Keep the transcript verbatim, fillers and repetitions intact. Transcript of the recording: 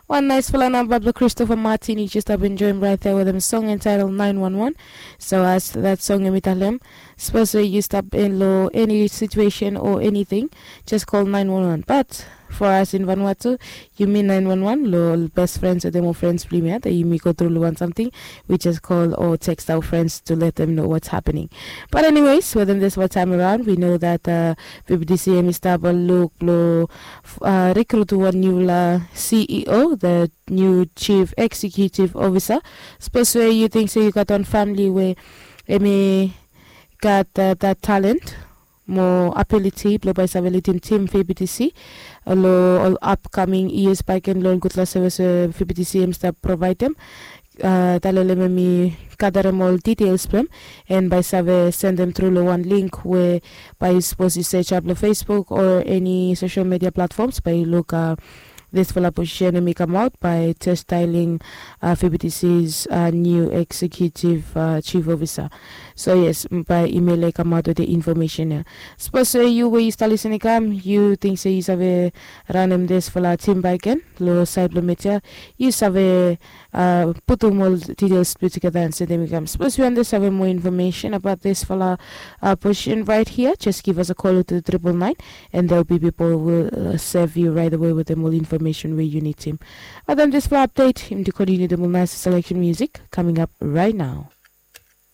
Wan naisfala namba blong Christopher Martin, yu jes stap enjoim rait ya wetem song entitled nine one one. So as that song yumi talem, sapos we yu stap in lo any situation or anything, just call nine one one. But for us in Vanuatu, yumi nine one one lo best friends wetem ol friends blong yumi ya that yumi go through lo wan something, we just call or text our friends to let them know what's happening. But anyways, wetem this one time around, we know that uh, V B T C yumi stap luk lo uh, recruit wan newla C E O, the new chief executive officer. Sapos we yu ting se yu gat wan family we yumi gat uh, that talent mo ability blong bai save lidim tim V B T C lo ol upcoming years baik en lo ol gudfala sevis we V B T C yumi stap provaidem. Uh, talem yumi gadarem ol details blong em en bai save sendem tru lo wan link we bai yu sapos yu search up lo Facebook or any social media platforms bai yu luk uh, disfala position yumi kamaot bai just styling uh, V B T C's uh, new executive uh, chief officer. So yes, bai email e kamaot with the information ya. Sapos we yu we yu stap lisin i kam yu ting se yu save ranem disfala tim baik en lo sait blong media, yu save uh, putum ol details blong tugeta and sendem i kam. Sapos yu wanted save more information about disfala uh, position right here, just give us a call to triple nine and there'll be people will uh, serve you right away with them all information where you need him. But then this for update, him to continue the nice selection music coming up right now.